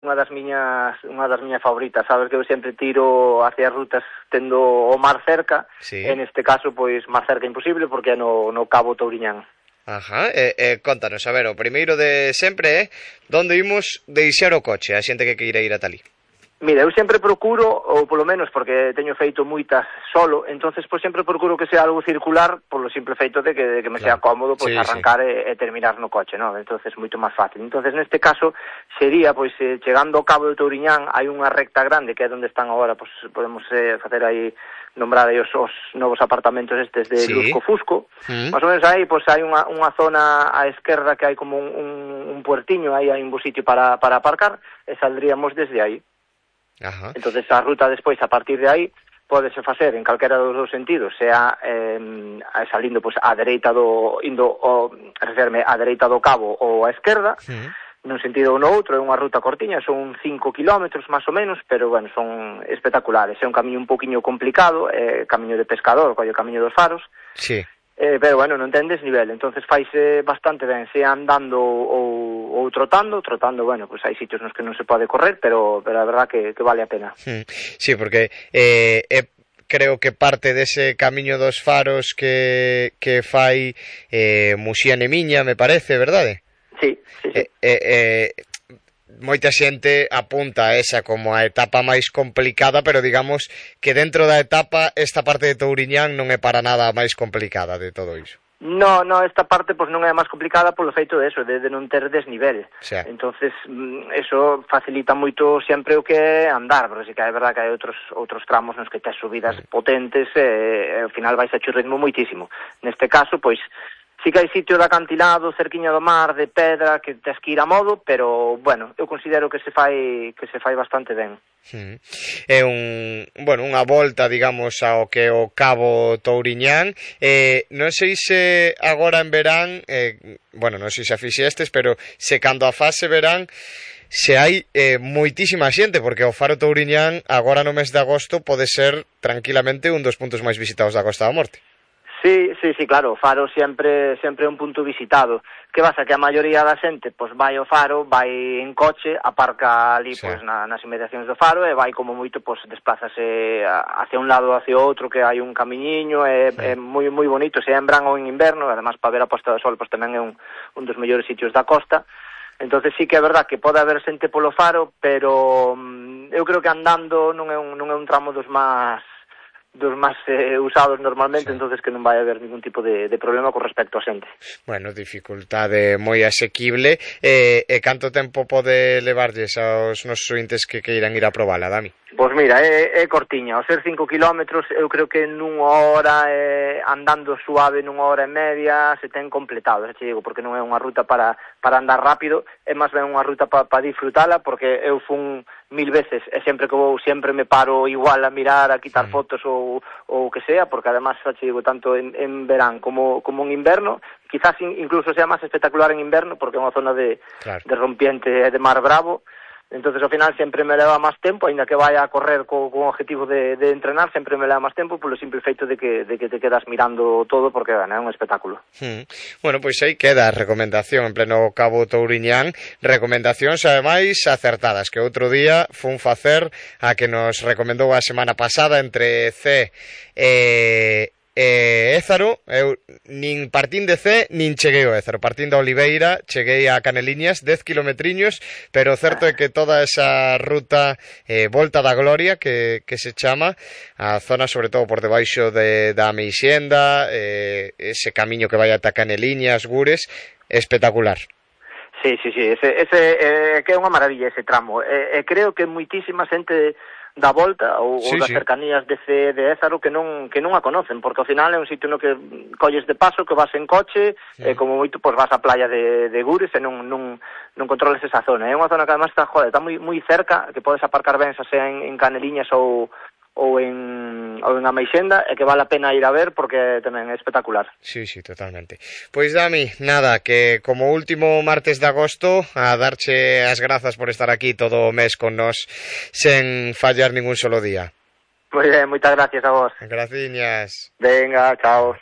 unha das miñas favoritas, sabes que eu sempre tiro hacia rutas tendo o mar cerca, Sí. e neste caso, pois, máis cerca imposible, porque é no Cabo Touriñán. Ajá, contanos, a ver, o primeiro de sempre onde imos deixar o coche, a xente que queira ir ata ali. Mira, eu sempre procuro, ou polo menos porque teño feito moitas solo, entonces pois sempre procuro que sea algo circular, polo simple feito de que me sea cómodo pois arrancar e terminar no coche, non? Entonces moito máis fácil. Entonces neste caso sería pois chegando ao Cabo de Touriñán hai unha recta grande que é onde están agora, pois podemos facer aí nombrar aí os novos apartamentos estes de Lusco Fusco. Más ou menos aí pois hai unha zona á esquerda que hai como un puertiño, aí hai un bo sitio para aparcar e saldríamos desde aí. Ajá. Entonces a ruta despois a partir de aí pódese facer en calquera dos dous sentidos, sea salindo pois á dereita referme á dereita do cabo ou á esquerda, nun sentido ou no outro. É unha ruta cortiña, son 5 kilómetros máis ou menos, pero bueno, son espectaculares. É un camiño un poquinho complicado, camiño de pescador, o camiño dos faros. Sí. Pero bueno, non ten desnivel, entonces faise bastante ben, sea andando ou trotando, bueno, pues hai sitios nos que non se pode correr, pero a verdad que vale a pena. Sí, porque creo que parte dese camiño dos faros que fai Muxián e Miña, me parece, verdade? Sí. Moita xente apunta a esa como a etapa máis complicada, pero digamos que dentro da etapa esta parte de Touriñán non é para nada a máis complicada de todo iso. No, esta parte pues non é a máis complicada polo feito de eso, de non ter desnivel. Entonces, eso facilita moito sempre o que é andar, porque sí que é verdad que hai outros tramos nos que tes subidas potentes e ao final vais a ritmo moitísimo. Neste caso, pois, sí que hai sitio de acantilado, cerquiña do mar, de pedra, que tes que ir a modo, pero, bueno, eu considero que se fai bastante ben. É unha volta, digamos, ao que o Cabo Touriñán. Non sei se agora en verán, non sei se a fixestes, pero se cando a fase verán, se hai moitísima xente, porque o Faro Touriñán agora no mes de agosto pode ser tranquilamente un dos puntos máis visitados da Costa da Morte. Sí, claro, o Faro sempre é un punto visitado. Que pasa? Que a maioría da xente pois vai ao Faro, vai en coche, aparca ali pois nas inmediacións do Faro e vai como moito pois desplázase hacia un lado ou hacia outro, que hai un camiñiño, é moi moi bonito, se é en verán ou en inverno, además para ver a posta do sol pois tamén é un dos mellores sitios da costa. Entonces sí que é verdad que pode haber xente polo Faro, pero eu creo que andando non é un tramo dos máis usados normalmente, entonces que non vai haber ningún tipo de problema con respecto a xente. Bueno, dificultade moi asequible. E canto tempo pode levarlles aos nosos ointes que queiran ir a probala, Dami? Pois mira, é cortiña, ao ser 5 kilómetros, eu creo que nunha hora, andando suave nunha hora e media, se ten completado, xa te digo, porque non é unha ruta para andar rápido, é máis ben unha ruta para disfrutala, porque eu fun 1000 veces, e sempre que vou, sempre me paro igual a mirar, a quitar fotos ou o que sea, porque además, xa te digo, tanto en verán como en inverno, quizás incluso sea máis espectacular en inverno, porque é unha zona de rompiente e de mar bravo. Entonces ao final sempre me leva máis tempo, aínda que vaya a correr con objetivo de entrenar, sempre me leva máis tempo polo simple feito de que te quedas mirando todo, porque é un espectáculo. Bueno, pois aí queda a recomendación en pleno Cabo Touriñán, recomendacións ademais acertadas, que outro día fun facer a que nos recomendou a semana pasada entre C Ézaro. Eu nin partín de C nin cheguei ao Ézaro, partín da Oliveira, cheguei a Caneliñas, 10 kilometriños, pero o certo é que toda esa ruta Volta da Gloria que se chama, a zona sobre todo por debaixo da Meixenda, ese camiño que vai ata Caneliñas, Gures, espectacular. Sí, ese que é unha maravilla ese tramo, creo que moitísima xente da volta ou das cercanías de Ézaro que non a conocen, porque ao final é un sitio no que colles de paso, que vas en coche, como moito pois vas á playa de Gures e non controles esa zona. É unha zona que además está moi cerca, que podes aparcar ben xa sea en Caneliñas ou en Ameixenda, e que vale a pena ir a ver porque tamén é espectacular. Sí, totalmente. Pois Dami, nada, que como último martes de agosto a darche as grazas por estar aquí todo o mes con nós sen fallar ningún solo día. Moi ben, moitas gracias a vos. Graciñas. Venga, chao.